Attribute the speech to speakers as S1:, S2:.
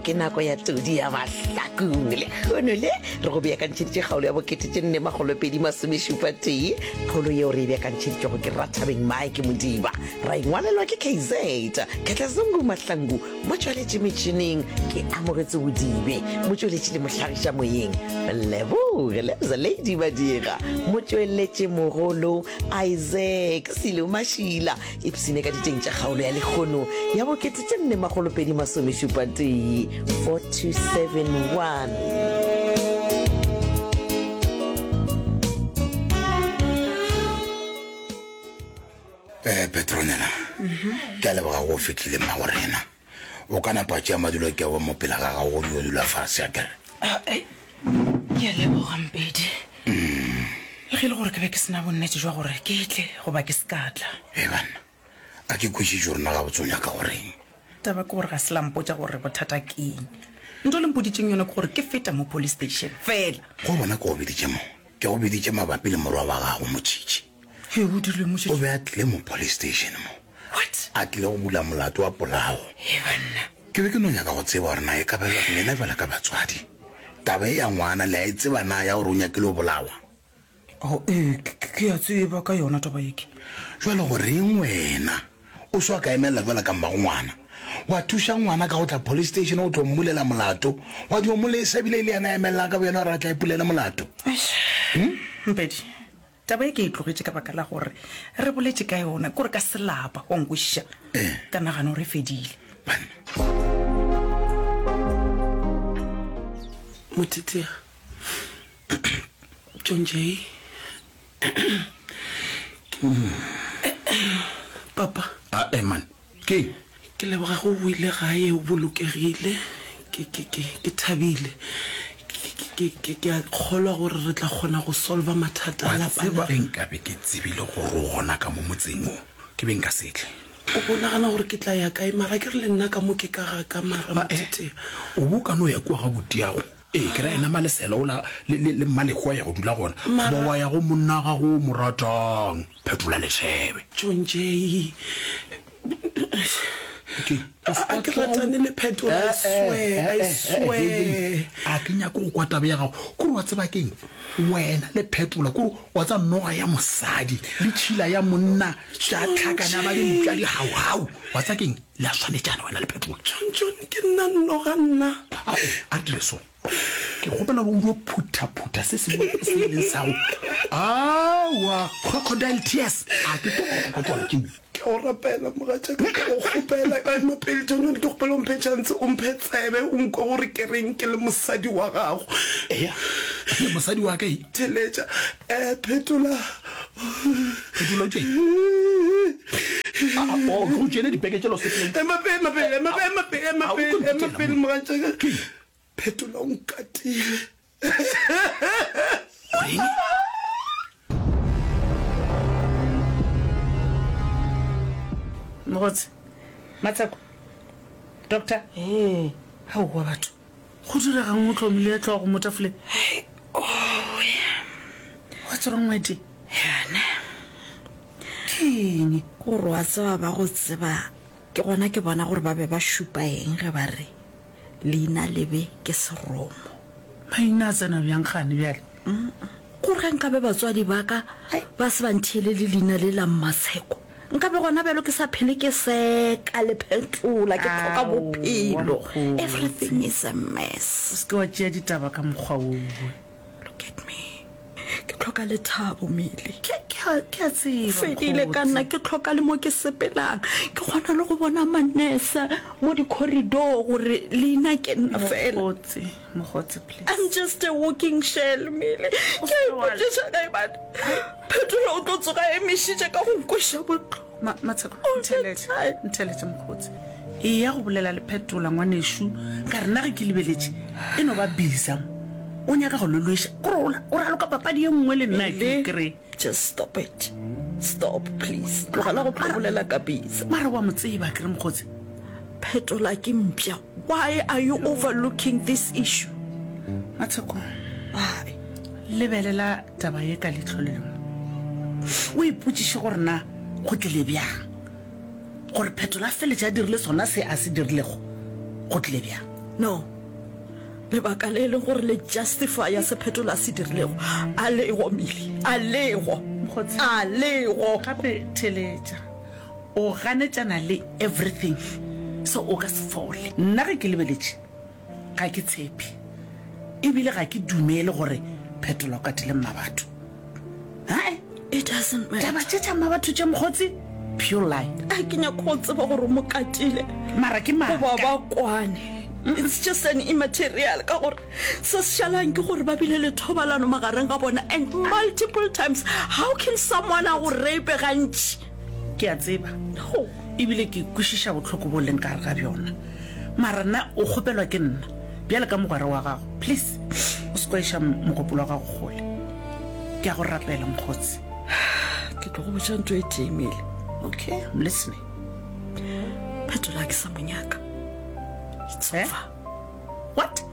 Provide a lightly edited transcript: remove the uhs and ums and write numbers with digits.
S1: Ke nako ya todi ya mahlakong. Lehono le re go beakantšheditše kgaolo ya bokete tše nne makgolo pedi masomešupa tee. Kgaolo yeo re e beakantšheditšwego ke Rathabeng Mike Modiba. Ra ingwalelwa ke KZ Khetlazungu Mahlangu. Motšweletši metšhineng ke Amogetse Bodibe. Motšweletši le mohlagiša moyeng Leboge Lebza Lady Madira. Motšweletši mogolo Isaac Silo Mašila. Ipshine ka diteng tša kgaolo ya lekgono ya bokete tše nne makgolopedi masomešupa tee 4271.
S2: Eh, Petronella, ke a leboga go fihlile mmago rena. O ka napa tšea madulo ke wa mo pela ga gago go dio dula fase a kere.
S3: Ah, eh, ke a leboga Mpedi. Le ge e le gore ke be ke se na bonnete jwa gore ke tle goba ke se ka tla.
S2: Hei banna, a ke kwešiše gore na gabotse o nyaka go reng.
S3: Taba ke gore ga se la mpotša gore bothata ke eng. Nto le mpoditšeng yona ke gore ke feta mo police station fela.
S2: Go bona ke go biditše mo, ke go biditše mabapi le morwa wa gago Motšhitšhi.
S3: He, o dirile Motšhitšhi?
S2: O be a tlile mo police station mo.
S3: What?
S2: A tlile go bula molato wa polao.
S3: He banna.
S2: Ke be ke no nyaka go tseba gore na e ka ba lena bjalo ka batswadi, taba ye ya ngwana le a e tseba na ya gore o nyakile go bolawa?
S3: Oh, ee, ke, ke a tseba ka yona taba ye ke.
S2: Bjale go reng wena o se wa ka emelela bjalo ka mmago ngwana, wa thuša ngwana ka go tla police station go tlo mmulela molato, wa dio mo lesa ebile e le yena a emelelang ka boyena gore a tle a ipulele molato?
S3: Eish, Mpedi, Taba ye ke e tlogetše ka baka la gore re boletše ka yona, ke gore ka selapa, wa nkwešiša? Ka nagana gore e fedile.
S2: Banna.
S4: Mothetea, John Jay, Papa.
S2: Ae man, Ke.
S4: Ke leboga ge o boile gae o bolokegile. Ke, ke, ke, ke thabile. Ke, ke, ke, ke a kgolwa gore re tla kgona go solva mathata a
S2: Wa
S4: lapa
S2: tseba
S4: la.
S2: ge nkabe ke tsebile gore o gona ka mo motseng wo, ke be nka se tle.
S4: O bo nagana gore ke tla ya kae? Mara ke re le nna ka mo ke ka ga ka mara
S2: Ae,
S4: Mothetea.
S2: o bo o ka no ya kua ga butiago. Ee, ke ra yena Malesela ola le, le, le Mmalehwa ya go dula gona.
S4: Mara.
S2: Goba wa ya go monna wa gago o mo ratang, Phetola Lethebe.
S4: John Jay.
S2: Ke.
S4: A ke ratane le Phetola, I swear, I swear.
S2: A ke nyake go kwa taba ya gago. Kore wa tseba keng? Wena le Phetola, kore wa tseba noga ya mosadi le tšhila ya monna tša tlhakana ba dimpša di hauhau. Wa tseba keng? Le a swanetšana wena le Phetola.
S4: John, John, ke nna noga nna.
S2: A, a re dire so. Ke kgopela gore o dio phuthaphutha se sengwe se e leng sa go. Aowa, crocodile tears. A ke tlo go tšona tšeo.
S4: Ke a go rapela, mogatšaka, ke a go kgopela. Ema pele, John, John, ke kgopela o mphe chance, o mphe tsebe, o nkwe gore ke reng ke le mosadi wa gago.
S2: Eya, le mosadi wa ka e.
S4: Theletša, eh, Phetola.
S2: Phetola o tšee. Ah, oh, ke go tšeele dipeke tšela o sepele.
S4: Ema pele, ema pele, ema pele, ema pele, ema
S2: A o
S4: pele,
S2: tlo
S4: ema
S2: mpitela
S4: pele,
S2: mo.
S4: mogatšaka.
S2: Ke?
S4: Phetola o nkatile.
S2: O reng?
S3: Mogotsi, Matsheko, Doctor.
S4: Ee.
S3: Aowa batho, go diregang o tlomile hlogo mo tafoleng? What's wrong my dear?
S5: Yana.
S3: Ke eng?
S5: Gore wa tseba ba go tseba ke gona ke bona gore ba be ba šupa eng ge ba re leina lebe ke seromo.
S3: Maina a tsena bjang gane bjale?
S5: Gore ge nkabe batswadi ba ka ba se ba ntheelele leina le la Mmatsheko, nkabe gona bjalo ke sa phele ke seka le phetola, ke hloka bophelo. Everything is a mess.
S3: O se ke wa tšea ditaba ka mokgwa woo.
S5: Look at me. Ke hloka lethabo, Mili.
S3: Ke, ke a, ke a tseba,
S5: Fedile ka nna,
S3: mokgotsi.
S5: ke hloka le mo ke sepelang. Ke kgona le go bona manese mo di-corridor gore leina ke nna fela.
S3: Mokgotsi, mokgotsi, please.
S5: I'm just a walking shell, Mili.
S3: O
S5: Ke a
S3: se ke wa
S5: ipotšiša ge eba Phetola o tlo tsoga a emišitše ka go nkweša bohloko.
S3: Ma, Matsheko,
S5: All the
S3: ntheeletše,
S5: time.
S3: ntheeletše, mokgotsi. Eya go bolela le Phetola, ngwanešu. Ka re nna ge ke lebeletše, e no ba Bisa mo. O nyaka go lološa. Kore o, o raloka papadi ye nngwe le nna, ke
S5: Mili,
S3: kry.
S5: just stop it. Stop, please. Tlogela go tlo bolela ka Bisa.
S3: Mara wa mo tseba, akere, mokgotsi?
S5: Phetola ke mpša. Why are you overlooking this issue?
S3: Matsheko,
S5: Why?
S3: lebelela taba ye ka leihlo le lengwe. O ipotšiše gore na go tlile bjang gore Phetola a feletše a dirile sona se a se dirilego. Go tlile bjang?
S5: No. Lebaka le e leng gore le justifya se Phetola a se dirilego, a lego, Mili. A lego.
S3: Mokgotsi.
S5: A lego.
S3: Gape theletša. O ganetšana le everything, so o ka se fole. Nna ge ke lebeletše, ga ke tshepe, ebile ga ke dumele gore Phetola o katile Mmabatho. Hae.
S5: It doesn't matter.
S3: Taba tše tša Mmabatho tše mokgotsi, pure lie.
S5: A ke nyake go tseba gore o mo katile.
S3: Mara ke maaka.
S5: Goba ba kwane. It's just an immaterial ka gore se se šalang ke gore ba bile le thobalano magareng ga bona and multiple times. How can someone a go rape gantši?
S3: Ke a tseba. Ebile ke kwešiša bohloko bo leng ka gare ga bjona. Mara nna o kgopelwa ke nna bjale ka mogwera wa gago. Please, o se kwa iša mogopolo wa gago kgole. Ke a go rapela, mokgotsi.
S5: Ke tlo go botša ntho e tee, Mele.
S3: Okay, I'm listening.
S5: Phetola ke sa mo nyaka. It's
S3: Eh?
S5: over.
S3: What?